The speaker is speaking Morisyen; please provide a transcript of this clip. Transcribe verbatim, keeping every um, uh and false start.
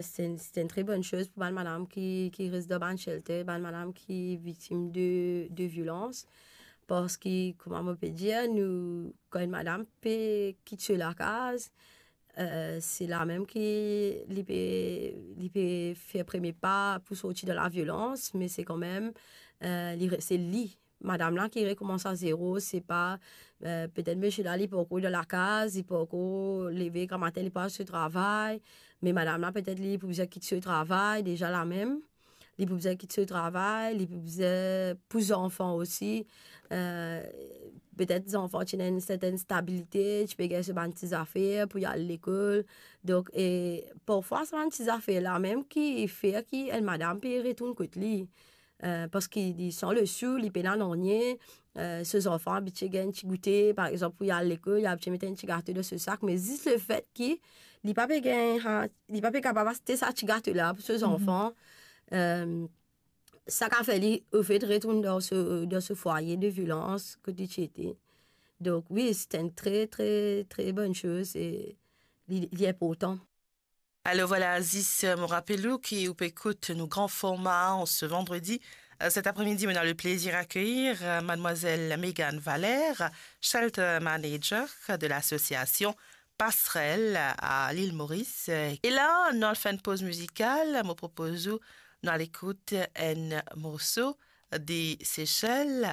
Se enn, se enn tre bonn soz pou bann madam ki, ki res dan bann shelter, bann madam ki viktim de, de violans. Parski, kouma mo pe dir, nou, kan enn madam pe kit so lakaz, eh, se la mem ki li pe, li pe fer premie pa pou sorti dan laviolans, me se kanmem, eh, li re-, se li, madam la ki rekoumans a zero, se pa, eh, petet misie la, li pankor dan lakaz, li pankor leve gramatin, li pa al so travay, me madam la, petet li pou bizin kit so travay, deza la mem, li pou bizin kit so travay, li pou bizin pou zanfan osi, eh, petet zanfan ti ena enn sertenn stabilite, ti pe gagn so bann ti zafer pou li al lekol. Donk, e parfwa, sa bann ti zafer la mem ki fer ki enn madam pe retourn kot li. Eh, parski li san lesou, li pena nanye, eh, so zanfan abitie gagn ti goute, par exanp, pou li al lekol, li abitie met enn ti gato dan so sak, me zis lefet ki li pa pe gagn, ha, li pa pe kapav aste sa ti gato la pou so zanfan, eh, sa kapav fer li, ofet, retourn dan so, dan so fwaye de violans kot li ti ete. Donk, wi, se enn tre, tre, tre bonn soz e li, li inportan. Alors voilà, Aziz, euh, mo rapel ou ki ou pe ekout nou gran forma an se vandredi. Euh, cet après-midi, on a le plaisir à accueillir, euh, mademoiselle Mégane Valère, Shelter Manager de l'association Passerelle à l'île Maurice. Et là, nou al fer enn poz mizikal, mo propoz ou nou al ekout enn morso de Seychelles.